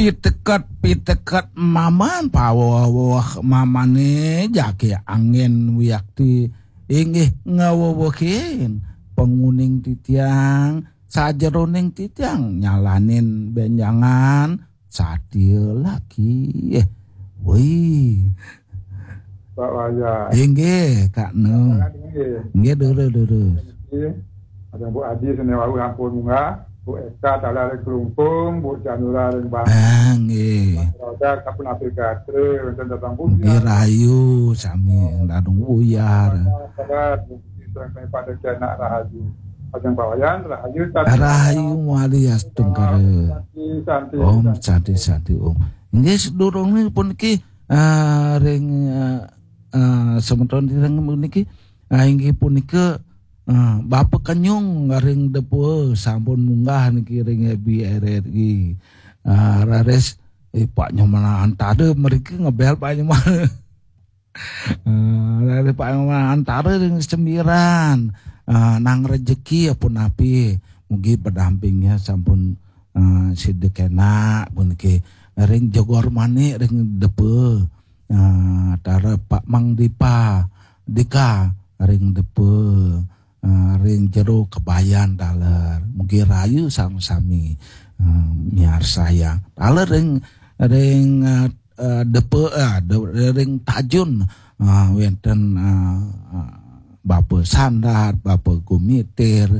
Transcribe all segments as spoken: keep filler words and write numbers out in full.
Piteket, piteket maman paweweh mamane jake angin wiakti inggih ngawewehin panguning titiang, sajeroning titiang nyalanin benjangan satia lagi. Woi. Pak Wayan. Inggih, Kak Nu. Inggih. Inggih, durus, durus. Inggih. Ada Bu Adi sene wau ampun munggah, Bu Eka taler ring Klungkung, Bu Janura ring Bang. Ah, nggih. Roda kapun apik gatre, wonten datang Bu. Nggih, rahayu sami dadung buyar. Sabar, Bu Adi sareng pada kena rahayu. Ajeng Pak Wayan, rahayu, santi. Rahayu mawali astungkara. Santi, santi, Om santi. Santi, santi, Om. Nggih, sedurunge puniki, ah, ring, ah, ah, semeton ring puniki, ah, inggih punika, ah, Bapa Kenyung ring Depa sampun munggah niki ring B R R I. Ah, raris, eh, Pak Nyoman Antara mriki ngebel Pak Nyoman. Eh, raris Pak Nyoman Antara ring Sembiran. Ah, nang rejeki ya punapi. Mugi pendampingnya sampun, ah, sida kena puniki. Ring Jogor Manik ring Depa. Ah, tara Pak Mang Dipa, Dika ring Depa, ah, ring Jero Kebayan taler. Mugi rahayu sami-sami, ah, miarsayang. Taler ring, ring, ah, ah, Depa, ah, de-, ring Tajun, ah, wenten, ah, ah, Bapa Sandat, Bapa Gumitir,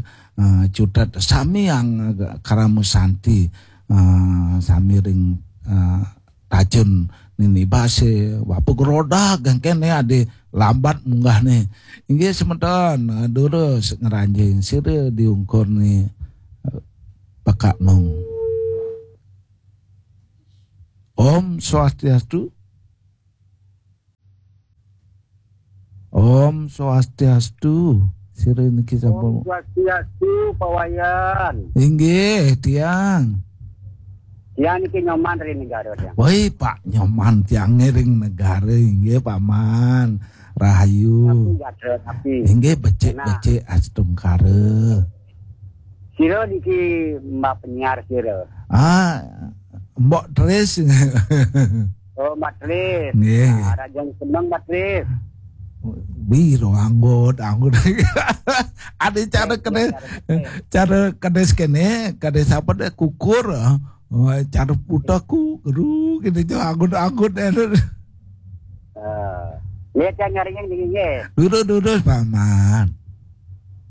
ah, cutet sami yang, ah, krama santi, ah, sami ring, ah, Tajun nini base, Bapa Gerodak, geng kene ade lambat munggahne. Inggih semeton, durus ngranjing sira diungkur ni, eh, Pak Nung. Om Swastiastu. Om Swastiastu. Sira niki sampun. Om Swastiastu, Pak Wayan. Inggih, tiang. Tiang niki Nyoman ring Negara, tiang. Woi, Pak Nyoman, tiang ring Negara, inggih, Paman. Rahayu. Tapi nggih ada, tapi. Inggih, becik-becik astungkara. Sira niki Mbak penyiar sira. Ah, Mbok Tris. Oh, Mbak Tris. Nggih. Nah, rajang seneng, Mbak Tris. Biro anggut, anggut. Ada cara kene, cara kene kene, kene sapa deh kukur, ah. Oh, cara putar ku, guru, gitu, jo, anggut-anggut, eh. Eh, lihat yang nyaring yang dingin, nggih. Durus, durus, Paman.